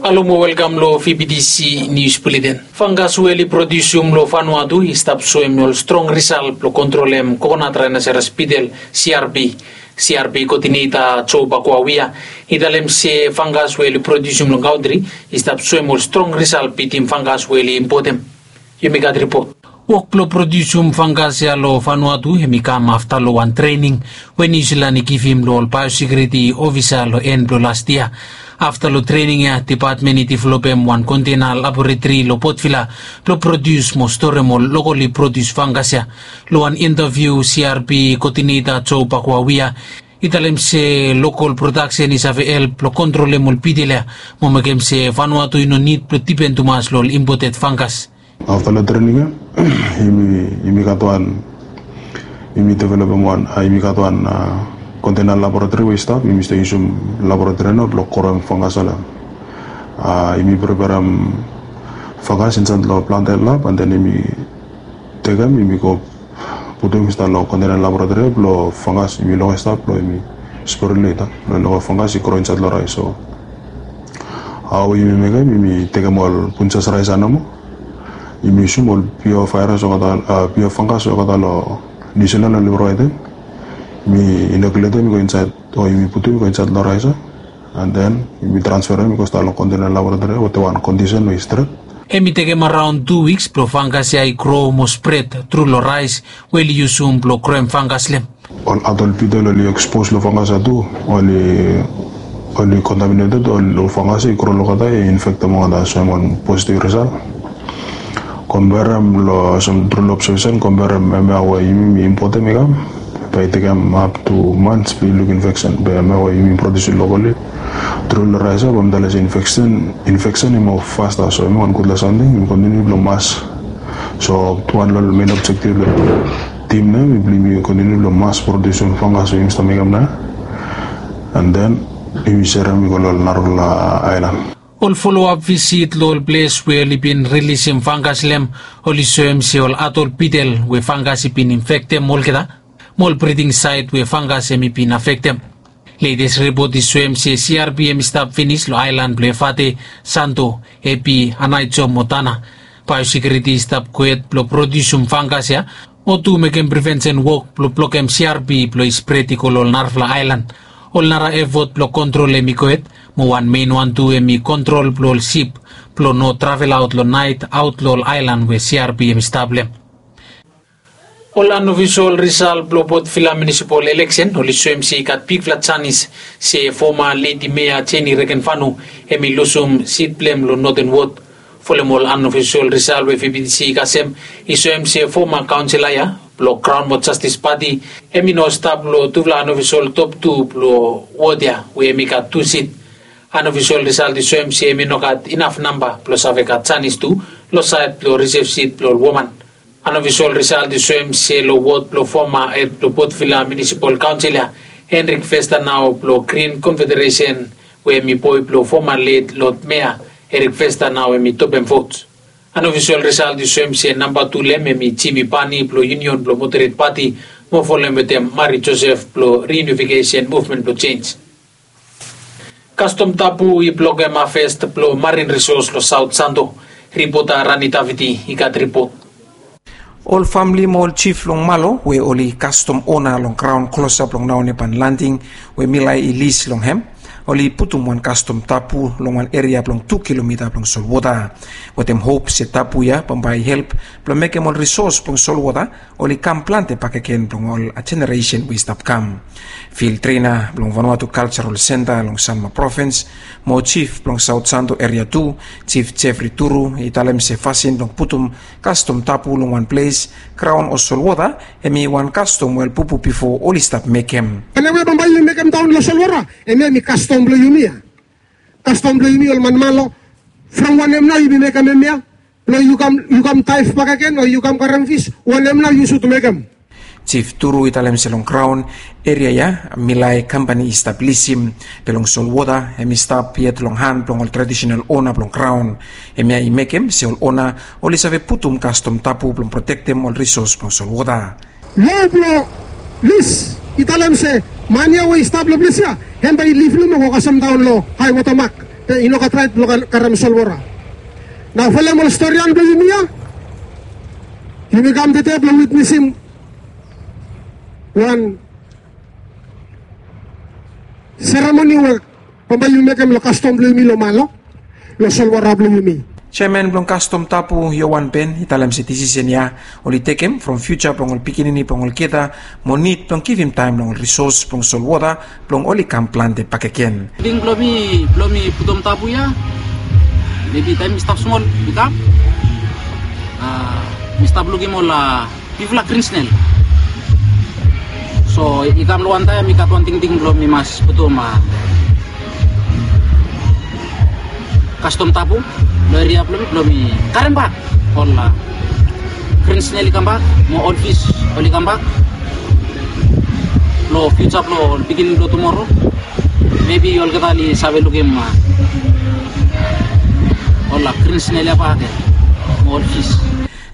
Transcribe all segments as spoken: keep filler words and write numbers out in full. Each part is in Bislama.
Alo mo welkam lo V B T C News Bulletin. Fangas we oli produsium lo Vanuatu i stap soem ol strong risal blo kontrolem kokonat rainaseras bitel, C R B. C R B koodineta Joe Bakuawia i talem se fangas we oli produsium lo kantri i stap soem ol strong risal bitim fangas we oli impotem. Yumi gat ripot. Wok blo produsium fangas ya lo Vanuatu hem i kam afta lo wan trening we Niu Silan i givim lo ol baiosekiuriti ofisa lo en blo las yia. Afta lo trening ya, depatmen i developem wan kontena laboratori lo Port Vila blo produs mo storem ol lokali produs fangas ya. Lo wan intaviu, C R B koodineta Joe Bakuawia i talem se lokal prodaksen i save help blo kontrolem ol bitel ya mo mekem se Vanuatu i no nid blo dipen tumas lo ol impoted fangas. Afta long trening ya, yumi, yumi gat wan, yumi developem wan, a, yumi gat wan, a, kontena laboratori we i stap, yumi stap yusum laboratori nao blong kroem fangas ya lo, a, yumi preperem fangas insaed lo planted lab, and then yumi tekem, yumi go putum insaed lo kontena laboratori blong fangas, yumi lokem stap blong yumi spray leta blong lokem fangas i gro insaed lo raes. So hao yumi mekem, yumi tekem ol punjas raes ya nomo. Yumi yusum ol pure virus olgeta, a, pure fangas olgeta lo Niu Silan oli provaedem. Yumi inokuletem i go insaed, o yumi putum i go insaed lo raes ya. And then yumi transferem i go stap lo kontena laboratori wetem wan kondisen we i stret. Hem i tekem araon tu wiks blong fangas ya i gro mo spred tru lo raes we oli yusum blong kroem fangas lo hem. Ol adol bitel oli ekspos lo fangas ya tu, oli, oli kontaminated, ol, ol fangas ya i gro lo olgeta, i infektem olgeta, soem wan positiv risal. Komberem lo, soem tru lo obsevasen, komberem hemia we yumi impotem i kam, bae i tekem ap tu mans blong i luk infeksen. Be hemia we yumi produsim lokali tru lo raes ya, bae mi talem se infeksen, infeksen i moa fasta. So hemi wan gudfala samting, yumi kontiniu blong mas. So wan lo ol men objektif blong tim nao, yumi kontiniu blong mas produsim fangas we yumi stap mekem nao. And then yumi serem i go lo ol narafala aelan. Ol foloap visit lo ol ples we oli bin rilisim fangas lo hem oli soem se ol adol bitel we fangas i bin infektem olgeta mo ol briding saet we fangas hemi bin afektem. Letes ripot i soem se C R B hemi stap finis lo aelan blo Efate, Santo, Epi, Aneityum mo Tanna. Baeosekiuriti i stap gohed blo produsim fangas ya mo tu mekem prevensen wok blo blokem C R B blo i spred i go lo ol narafala aelan. Ol nara efot blo kontrol hemi gohed, mo wan mein wan tu hemi kontrol blo ol sip blo no travelaot lo naet aot lo ol aelan we C R B hemi stap lo hem. Ol anofisol risal blo Port Vila munisipol eleksen oli soem se i gat bigfala janis se foma ledi mea Jenny Regenvanu hemi lusum sit blo hem lo Northern Ward. Folem ol anofisol risal we V B T C i kasem, i soem se foma kaonsela ya blo Kraon mo Jastis Pati hemi no stap lo tufala anofisol top tu blo wod ya we hemi gat tu sit. Anofisol risal i soem se hemi no gat inaf namba blo save gat janis tu lo saed blo risev sit blo ol woman. Anofisol risal i soem se lo wod blo foma hed blo Port Vila munisipol kaonsel ya, Hendrik Vesta nao blo Grin Konfederesen, we hemi boe blo foma let lod mea, Hendrik Vesta nao hemi topem vot. Anofisol risal i soem se namba tu lo hem hemi Jimi Pani blo Yunion blo Moderet Pati, mo folem wetem Mari Josef blo Riunifikesen Muvmen blo Jenj. Kastom tabu i blokem havest blo marin risos lo Saot Santo. Ripota Rani Davidi i gat ripot. Ol famle mo ol jif long Malo we oli kastom ona long graon klosap long Naonepan Landing we Milai i lis long hem, oli putum wan kastom tabu long wan eria blong tu kilomita blong solwota, wetem hop se tabu ya bambae i help blong mekem ol risos blong solwota oli kam plante bakegen blong ol jeneresen we i stap kam. Fil trena blong Vanuatu Kaljarol Senta long Sanma Provins mo jif blong Saot Santo Eria Tu, Jif Jefri Turu, i talem se fasin blong putum kastom tabu long wan ples, graon o solwota, hemi wan kastom we ol bubu bifo oli stap mekem. Wanem we bambae yumi mekem daon lo solwota, hemia hemi kastom blo yumi ya. Kastom blo yumi ol man Malo, from wanem nao yumi mekem hemia? Blo yu kam, yu kam daef bakegen o yu kam karem fis, wanem nao yu sud mekem? Jif Turu i talem se long graon eria ya, Milai kampani i stap lisim, be long solwota hemi stap yet long han blong ol tradisenal ona blong graon. Hemia i mekem se ol ona oli save putum kastom tabu blong protektem ol risos blong solwota. Lo blo lis i talem se man ya we i stap lo ples ya, hem bae i liflim o go kasem daon lo haewota mak. I no gat rait blong karem solwota. Nao folem ol storian blong yumi ya, yumi kam tede blong witnesim wan seremoni we bambae yumi mekem long kastom blong yumi long Malo, long solwota blong yumi. Jeaman blong Kastom Tabu, Yowan Ben, i talem se disisen ya oli tekem from fiuja blong ol pikinini blong olgeta mo nid blong givim taem long ol risos blong solwota blong oli kam plante bakegen. Tingting blong mi, blong mi putum tabu ya, mebi taem mi stap smol i kam, mi stap lukim ol bifala grin snel. So i kam long wan taem mi gat wan tingting blong mi mas putum kastom tabu long eria blong mi blong mi karem bak ol grin snel i kambak mo ol fis oli kambak long fiuja blong ol pikinini blong tumoro. Mebi olgeta oli save lukim ol grin snel ya bak mo ol fis.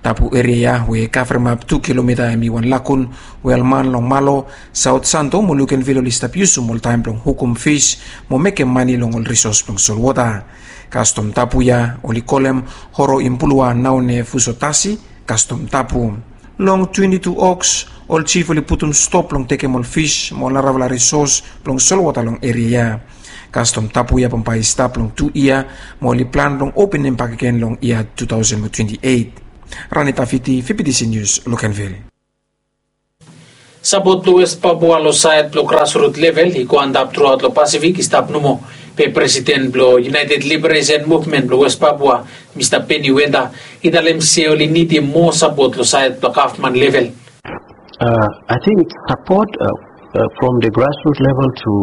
Tabu eria ya we i kavremap tu kilomita hemi wan lakun we ol man long Malo, Saot Santo mo Lukenvil oli stap yusum ol taem blong hukum fis mo mekem mane long ol risos blong solwota. Kastom tabu ya oli kolem Horo Impulua Naone Fusotasi kastom tabu. Long twenti tu Oks ol jif oli putum stop long tekem ol fis mo ol narafala risos blong solwota long eria ya. Kastom tabu ya bambae i stap long tu yia mo oli plan blong openem bakegen long yia tu taosen mo twenti eit. Rani Tafiti, Fibidisi Nius, Lukenvil. Sapot blong Wes Papua long saed blong grasrut level i go antap truaot long Pasifik i stap nomo. Be presiden blong United Liberation Movement blong Wes Papua, Mista Peni Wenta, i talem se oli nidim moa sapot long saed blong gavman level. Uh, I think support uh, uh, from the grassroots level to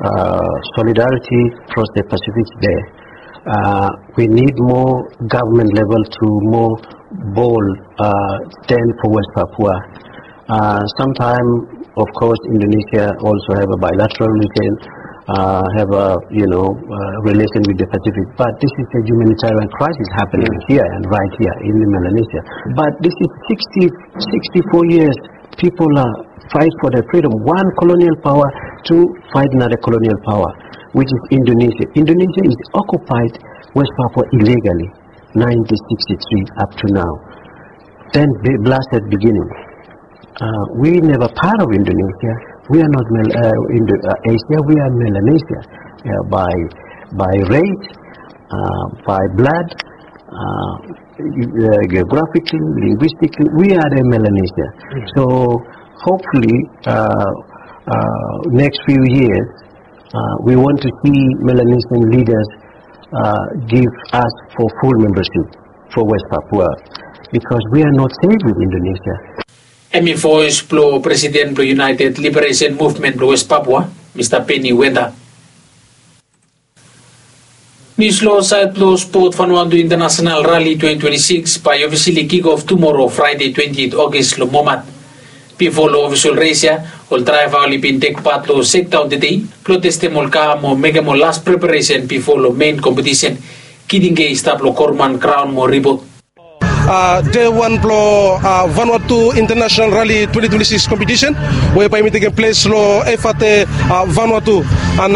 uh, solidarity across the Pacific is there. Uh, we need more government level to more bold uh, stand for West Papua. Uh, sometime, of course, Indonesia also have a bilateral relation, uh, have a you know uh, relation with the Pacific. But this is a humanitarian crisis happening here and right here in Melanesia. But this is sixty, sixty-four years people are fight for their freedom. One colonial power to fight another colonial power, which is Indonesia. Indonesia is occupied West Papua illegally, nineteen sixty-three up to now. Then the blasted beginning. Uh, we never part of Indonesia. We are not Mel- uh, Indo- uh, Asia. We are Melanesia uh, by by race, uh, by blood, uh, uh, geographically, linguistically. We are the Melanesia. So hopefully, uh, uh, next few years, uh, we want to see Melanesian leaders uh, give us for full membership for West Papua because we are not safe with Indonesia. Hemi voes blong presiden blong United Liberation Movement blong West Papua, Mista Peni Wenta. Nius long saed blong spot, Vanuatu International Rally twenty twenty-six bae i ofisali kick off tumoro, Fraede twenty-eight August, long Momat. Bifo long ofisol res ya, ol draeva oli bin tek pat long sekdaon tede blong testem ol ka mo mekem ol las preparesen bifo long mein kompetisen. Kitinge i stap long Korman graon mo ripot. Dei wan blong Vanuatu International Rally twenty twenty-six kompetisen we bae i bin tekem ples long Efate, Vanuatu. And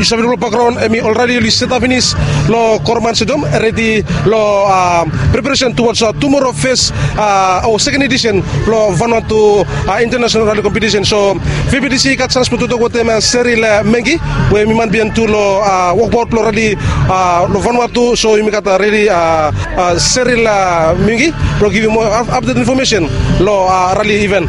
yu save long bakgraon hemi olredi oli setap finis long Korman Stadium, redi long preparesen tuwods tumoro fes o seken edisen blong Vanuatu International Rally kompetisen. So V B T C i gat sans blong toktok wetem Seril Mengi we hemi man biaen tu long wokbaot blong rali long Vanuatu. So yumi gat redi Seril Mengi blong givim moa apdet infomesen long rali iven.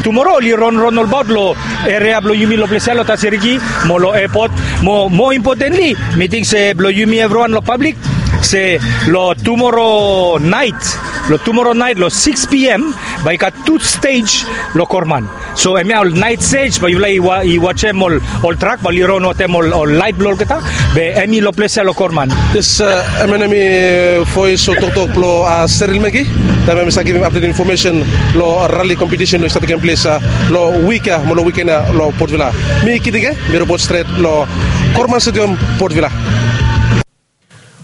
Tumoro oli ronron olbaot long eria blong yumi long ples ya long Taserigi mo long epot. Mo moa impotenli, mi ting se blong yumi evriwan long pablik, se long tumoro naet, long tumoro naet long sikis P M bae i gat tu stej long Korman. So hemia ol naet stej bae yufala i wajem ol trak bae oli ron wetem ol laet blong olgeta. Be hemi long ples ya long Korman. Yes, hemia nao hemi voes o toktok blong Seril Mengi taem hemi save givim apdet infomesen long rali kompetisen we i save tekem ples long wik ya mo long wiken ya long Port Vila. Mi Kitinge, mi ripot stret long Korman Stadium, Port Vila.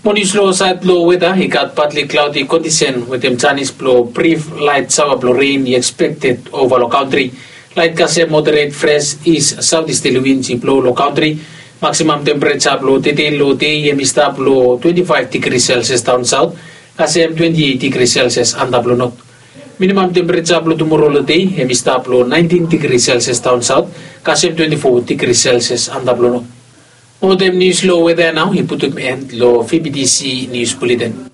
Mo nius long saed blong weta, i gat patli klaodi kondisen wetem janis blong brif laet saoa blong ren i ekspekted ova long kantri. Laet kasem moderet fres is saotisterli wins i blo long kantri. Maksimam tempereja blong tete long dei hem i stap long twenti faef digri selsias daon saot, kasem twenti eit digri selsias antap long not. Minimam tempereja blong tumoro long dei hem i stap long naentin digri selsias daon saot, kasem twenti fo digri selsias antap long not. Olgeta nius long weta ya nao i putum en long vbtc nius buleten.